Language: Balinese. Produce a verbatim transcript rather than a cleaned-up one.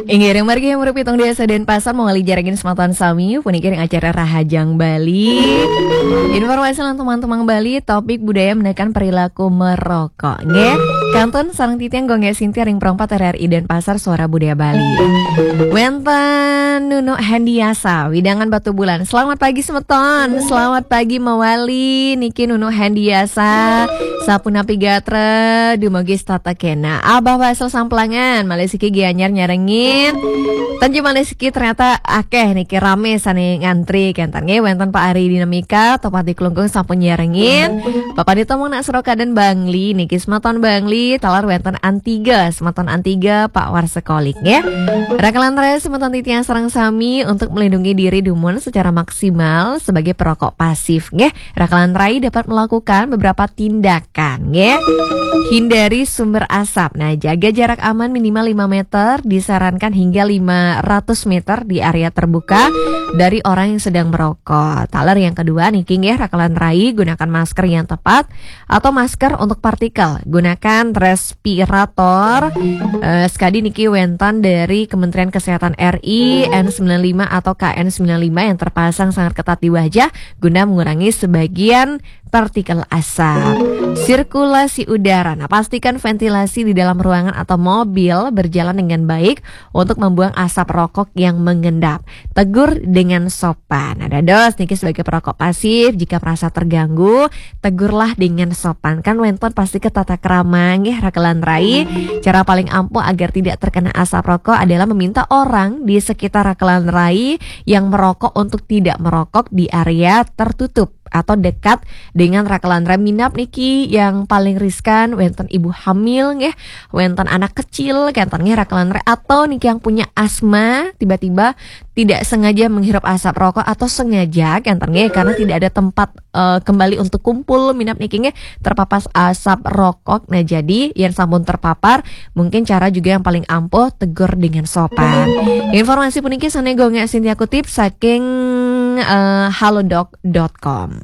Inggih, ring margi umur pitung dasa Denpasar mawali nyarengin semeton sami puniki ring acara Rahajeng Bali. Informasi lan tumang-tumang Bali, topik budaya menakan perilaku merokok. Nggih, kantun sareng titiang Gung Gek Sintia ring Pro empat R R I Denpasar, Suara Budaya Bali. Wenten Nunu Hendiasa, wewidangan Batubulan. Selamat pagi semeton, selamat pagi mawali niki Nunu Hendiasa. Sapunapi gatra, dumogi setata kena. Abah Basel Samplangan, malih siki Gianyar nyarengin. Tan cuma malih siki, ternyata akeh niki, rame sane ngantri kenten nggih. Wenten Pak Ari Dinamika, Tohpati Klungkung sampun nyarengin. Bapak Dito mung nak sura kaden Bangli niki, semeton Bangli, taler wenten Antiga, semeton Antiga, Pak Warsekolik nggih. Rakalan rai semeton titiang sareng sami, untuk melindungi diri dumun secara maksimal sebagai perokok pasif nggih. Rakalan rai dapat melakukan beberapa tindakan nggih. Hindari sumber asap. Nah, jaga jarak aman minimal lima meter, disarankan hingga lima ratus meter di area terbuka dari orang yang sedang merokok. Taler yang kedua niki nggih, rakalan rai, gunakan masker yang tepat atau masker untuk partikel. Gunakan respirator. Eh, sekadi niki wenten dari Kementerian Kesehatan R I, N sembilan lima atau K N sembilan lima yang terpasang sangat ketat di wajah guna mengurangi sebagian partikel asap. Sirkulasi udara. Nah, pastikan ventilasi di dalam ruangan atau mobil berjalan dengan baik untuk membuang asap rokok yang mengendap. Tegur dengan sopan. Nah, dados niki sebagai perokok pasif, jika merasa terganggu, tegurlah dengan sopan. Kan wenten pasti ke tata krama nggih, rakalan rai. Cara paling ampuh agar tidak terkena asap rokok adalah meminta orang di sekitar rakalan rai yang merokok untuk tidak merokok di area tertutup atau dekat dengan rakalan rai. Minab niki yang paling riskan, wenten ibu hamil nggih, wenten anak kecil kenten nggih, rakalan rai, atau niki yang punya asma, tiba-tiba tidak sengaja menghirup asap rokok atau sengaja kenten nggih, karena tidak ada tempat eh, kembali untuk kumpul, minab niki nggih terpapar asap rokok. Nah, jadi yang sampun terpapar, mungkin cara juga yang paling ampuh, tegur dengan sopan. Informasi puniki sane Gung Gek Sintia kutip saking eh, halodoc dot com.